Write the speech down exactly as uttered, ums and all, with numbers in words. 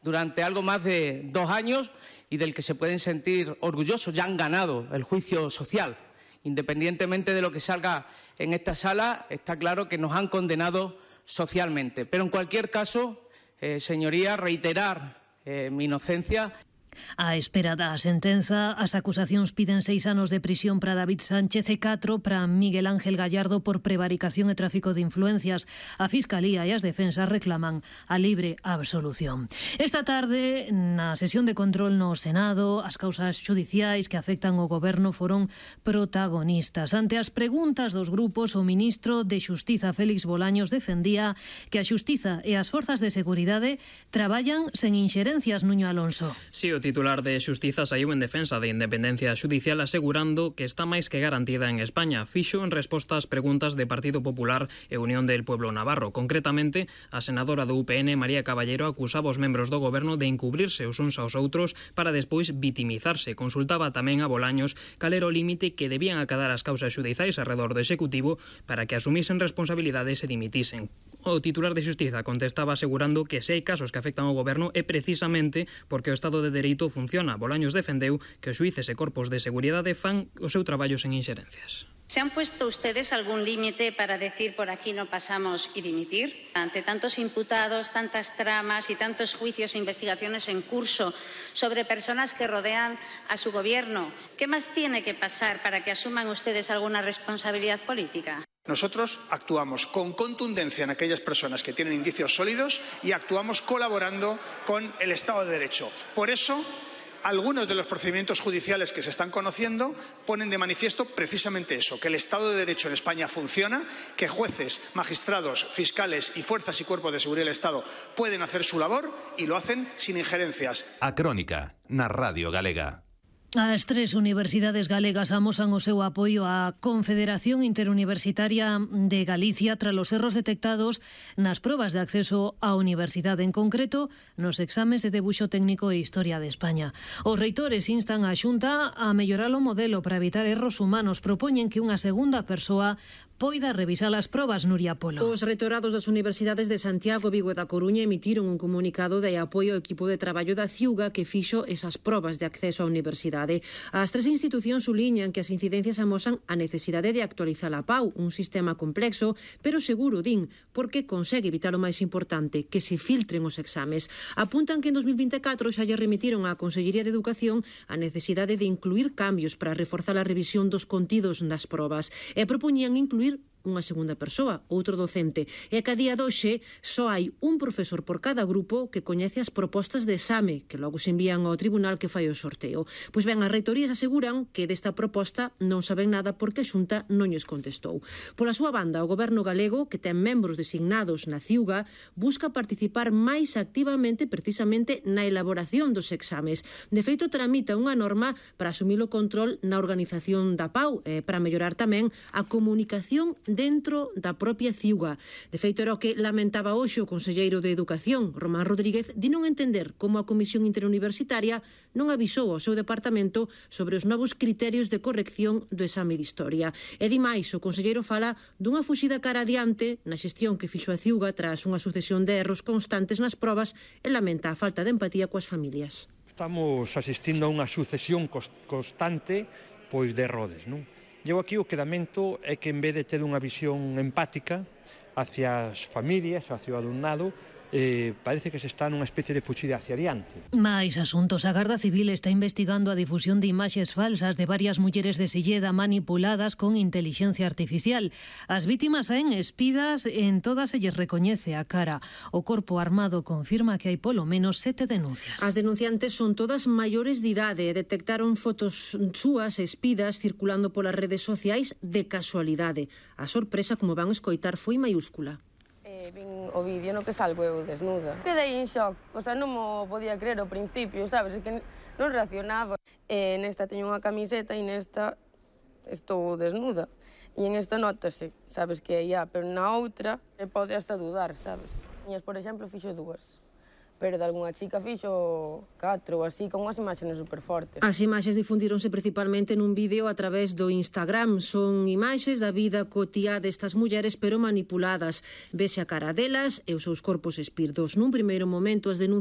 durante algo más de dos años y del que se pueden sentir orgullosos. Ya han ganado el juicio social. Independientemente de lo que salga en esta sala, está claro que nos han condenado socialmente. Pero en cualquier caso, eh, señoría, reiterar eh, mi inocencia. A espera da sentenza, as acusacións piden seis anos de prisión para David Sánchez e catro para Miguel Ángel Gallardo por prevaricación e tráfico de influencias. A Fiscalía e as defensas reclaman a libre absolución. Esta tarde, na sesión de control no Senado, as causas xudiciais que afectan o Goberno foron protagonistas. Ante as preguntas dos grupos, o ministro de Xustiza, Félix Bolaños, defendía que a Xustiza e as forzas de seguridade traballan sen inxerencias. Nuño Alonso. Sí, o titular de Xustiza saiu en defensa de independencia xudicial asegurando que está máis que garantida en España. Fixo en resposta ás preguntas de Partido Popular e Unión del Pueblo Navarro. Concretamente, a senadora do U P N, María Caballero, acusaba os membros do Goberno de encubrirse os uns aos outros para despois vitimizarse. Consultaba tamén a Bolaños cal era o límite que debían acadar as causas xudiciais arredor do Executivo para que asumisen responsabilidades e dimitisen. O titular de Xustiza contestaba asegurando que se hai casos que afectan ao Goberno é precisamente porque o Estado de Dereito funciona. Bolaños defendeu que os xuíces e corpos de seguridade fan o seu traballo sen inxerencias. ¿Se han puesto ustedes algún límite para decir por aquí no pasamos y dimitir? Ante tantos imputados, tantas tramas y tantos juicios e investigaciones en curso sobre personas que rodean a su gobierno, ¿qué más tiene que pasar para que asuman ustedes alguna responsabilidad política? Nosotros actuamos con contundencia en aquellas personas que tienen indicios sólidos y actuamos colaborando con el Estado de Derecho. Por eso, algunos de los procedimientos judiciales que se están conociendo ponen de manifiesto precisamente eso, que el Estado de Derecho en España funciona, que jueces, magistrados, fiscales y fuerzas y cuerpos de seguridad del Estado pueden hacer su labor y lo hacen sin injerencias. A Crónica, na Radio Galega. As tres universidades galegas amosan o seu apoio á Confederación Interuniversitaria de Galicia tras os erros detectados nas probas de acceso á universidade, en concreto nos exames de debuxo técnico e Historia de España. Os reitores instan a Xunta a mellorar o modelo para evitar erros humanos. Propoñen que unha segunda persoa poida revisar as probas. Nuria Polo. Os reitorados das universidades de Santiago, Vigo e da Coruña emitiron un comunicado de apoio ao equipo de traballo da Ciuga que fixo esas probas de acceso á universidade. As tres institucións suliñan que as incidencias amosan a necesidade de actualizar a P A U, un sistema complexo, pero seguro, din, porque consegue evitar o máis importante, que se filtren os exames. Apuntan que en dos mil vinte e catro xa lle remitiron á Consellería de Educación a necesidade de incluir cambios para reforzar a revisión dos contidos das probas e propoñían incluir unha segunda persoa, outro docente, e que a día doxe só hai un profesor por cada grupo que coñece as propostas de exame, que logo se envían ao tribunal que fai o sorteo. Pois ben, as reitorías aseguran que desta proposta non saben nada porque a Xunta non lles contestou. Pola súa banda, o Goberno galego, que ten membros designados na Ciuga, busca participar máis activamente precisamente na elaboración dos exames. De feito, tramita unha norma para asumir o control na organización da P A U, e para mellorar tamén a comunicación dentro da propia Ciuga. De feito, era o que lamentaba hoxe o conselleiro de Educación, Román Rodríguez, de non entender como a Comisión Interuniversitaria non avisou ao seu departamento sobre os novos criterios de corrección do exame de Historia. E di máis, o conselleiro fala dunha fuxida cara adiante na xestión que fixo a Ciuga tras unha sucesión de erros constantes nas probas e lamenta a falta de empatía coas familias. Estamos asistindo a unha sucesión constante pois de errores, non? Eu aquí o que lamento é que en vez de ter unha visión empática hacia as familias, hacia o alumnado, eh, parece que se está nunha especie de fuxida hacia adiante. Mais asuntos. A Garda Civil está investigando a difusión de imaxes falsas de varias mulleres de Silleda manipuladas con inteligencia artificial. As vítimas saen espidas, en todas se lles recoñece a cara. O Corpo Armado confirma que hai polo menos sete denuncias. As denunciantes son todas maiores de idade e detectaron fotos súas espidas circulando polas redes sociais de casualidade. A sorpresa, como van escoitar, foi maiúscula. Vin o vídeo no que salgo eu desnuda. Quedei en shock, o sea, non mo podía creer ao principio, sabes, que non reaccionaba. E nesta teño unha camiseta e nesta estou desnuda. E en esta notase, sabes, que é ia, pero na outra pode hasta dudar, sabes. Por exemplo, fixo dúas. pero de algunha chica fixo catro ou así, con unhas imaxes super fortes. As imaxes difundíronse principalmente nun vídeo a través do Instagram. Son imaxes da vida cotiá destas mulleres, pero manipuladas. Vese a cara delas e os seus corpos espirdos. Nun primeiro momento, as denuncias